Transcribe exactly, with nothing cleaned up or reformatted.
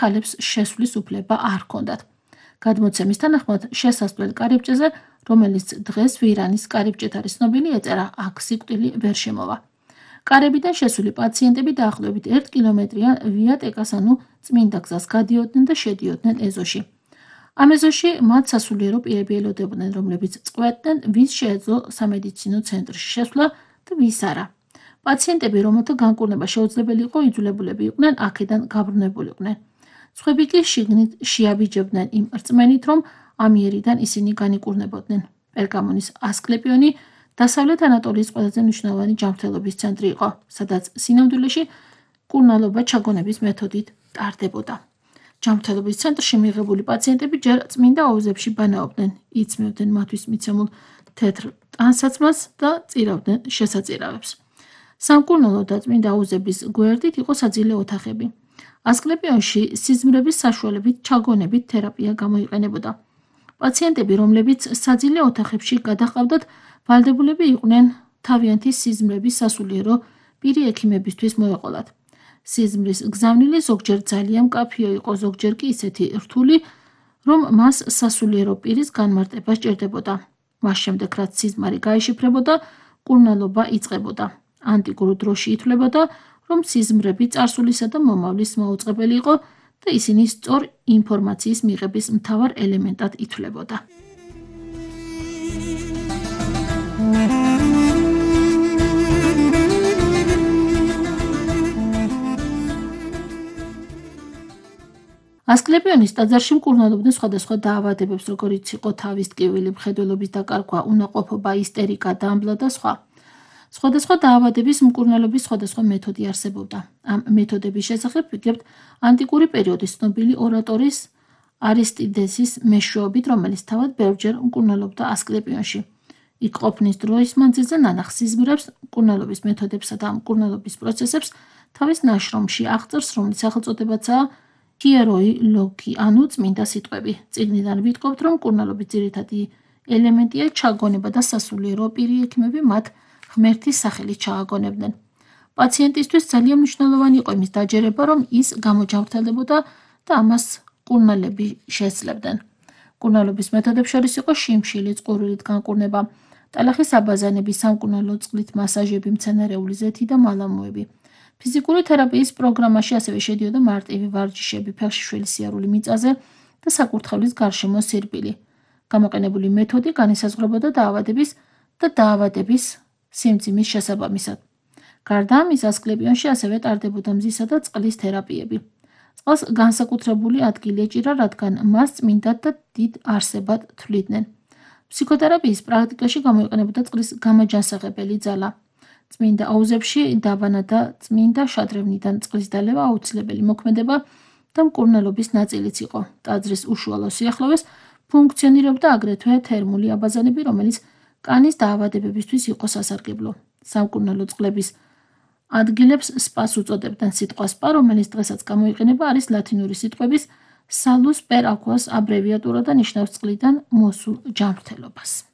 ხალებს შესვლის უფლება არ ჰქონდათ. გადმოცემის თანახმად შესასვლელ კარიბჭეზე, რომელიც დღეს ვირანის კარიბჭეთ არის ცნობილი, ეწერა აქ სიკვდილი ვერ შემოვა. კარებიდან შესული პაციენტები დაახლოებით ერთ კილომეტრიან ვიატეკას ანუ წმინდა გზას გადიოდნენ და შედიოდნენ ეზოში. ამ ეზოში მათ სასულიერო პირები ელოდებოდნენ, რომლებიც წყვეტდნენ, ვის შეეძლო სამედიცინო ცენტრში შესვლა და ვის არა. პაციენტები, რომელთა განკურნება შეუძლებელი იყო, იძულებულები იყვნენ აქედან გაბრუნებულიყვნენ. სხვები კი შიგნით შეაბიჯებდნენ იმ რწმენით, რომ ამიერიდან ისინი განიკურნებოდნენ. პერგამონის ასკლეპიონი დასავლეთ ანატოლიის ყველაზე მნიშვნელოვანი ჯანმრთელობის ცენტრი იყო, სადაც სინამდვილეში კურნალობა ჩაგონების მეთოდით ტარდებოდა. ჯანმრთელობის ცენტრში მიღებული პაციენტები ჯერ წმინდა აუზებში ბანაობდნენ, იცმევდნენ მათთვის მიცემულ თეთრ ტანსაცმელს და წირავდნენ შესაწირავებს. სამკურნალო და წმინდა აუზების გვერდით იყო საძილე ოთახები. ასკლეპიონში სიზმრების საშუალებით ჩაგონებით თერაპია გამოიყენებოდა. პაციენტები, რომლებიც საძილე ოთახებში გადაჰყავდათ, ვალდებულები იყვნენ თავიანთი სიზმრების სასულიერო პირი ექიმებისთვის მოეყოლათ. სიზმრის გზავნილი ზოგჯერ ძალიან მკაფიო იყო, ზოგჯერ კი ისეთი რთული, რომ მას სასულიერო პირის განმარტება სჭირდებოდა. მას შემდეგ, რაც სიზმარი გაიშიფრებოდა, კურნალობა იწყებოდა. ანტიკურ დროში ითვლებოდა, რომ სიზმრები წარსულისა და მომავლის მაუწყებელი იყო და ისინი სწორ ინფორმაციის მიღების მთავარ ელემენტად ითვლებოდა. ასკლეპიონის ტაძარში მკურნალობდნენ სხვადასხვა დაავადებებს, როგორიც იყო თავის ტკივილი, მხედველობის დაკარგვა, უნაყოფობა, ისტერიკა, დამბლა და სხვა. სხვადასხვა დაავადების მკურნალობის სხვადასხვა მეთოდი არსებობდა. ამ მეთოდების შესახებ ვიგებთ ანტიკური პერიოდის ცნობილი ორატორის არისტიდესის მეშვეობით, რომელიც თავად ბევრჯერ მკურნალობდა ასკლეპიონში. იქ ყოფნის დროის მანძილზე ნანახ სიზმრებს, მკურნალობის მეთოდებსა და მკურნალობის პროცესებს თავის ნაშრომში აღწერს, რომლის სახელწოდებაცაა ჰიეროი ლოგი, ანუ წმინდა სიტყვები. წიგნიდან ვითხოვთ, რომ მკურნალობის ძირითადი ელემენტია ჩაგონება და სასულიერო პირი ექიმები მათ ღმერთის სახელით ჩააგონებდნენ. პაციენტისთვის ძალიან მნიშვნელოვანი იყო იმის დაჯერება, რომ ის გამოჯანმრთელებოდა და ამას კურნალები შესძლებდნენ. კურნალობის მეთოდებს შორის იყო შიმშილი, წყურვილით განკურნება, ტალახის აბაზანები, სამკურნალო წყლით მასაჟები, მცენარეული ზეთი და მალამოები. ფიზიკური თერაპიის პროგრამაში ასევე შედიოდა მარტივი ვარჯიშები, ფეხშიშველი სიარული მიწაზე და საკურთხევლის გარშემო სირბილი. გამოყენებული მეთოდი განისაზღვრებოდა დაავადების და დაავადების სიმძიმის შესაბამისად. გარდა ამის, ასკლეპიონში ასევე ტარდებოდა მზისა და წყლის თერაპიები. წყალს განსაკუთრებული ადგილი ეჭირა, რადგან მას წმინდად და დიდ არსებად თვლიდნენ. ფსიქოთერაპიის პრაქტიკაში გამოიყენებოდა წყლის გამაჯანსაღებელი ძალა. წმინდა აუზებში დაბანა და წმინდა შადრევნიდან წყლის დალევა აუცილებელი მოქმედება და მკურნალობის ნაწილიც იყო. ტაძრის უშუალო სიახლოვეს ფუნქციონირებდა აგრეთვე თერმული აბაზანები, რომელიც კანის დაავადებებისთვის იყო სასარგებლო. სამკურნალო წყლების ადგილებს სპას უწოდებდნენ. სიტყვა სპა, რომელიც დღესაც გამოიყენება, არის ლათინური სიტყვების salus per aquas აბრევიატურა და ნიშნავს წყლიდან მოსულ ჯანმრთელობას.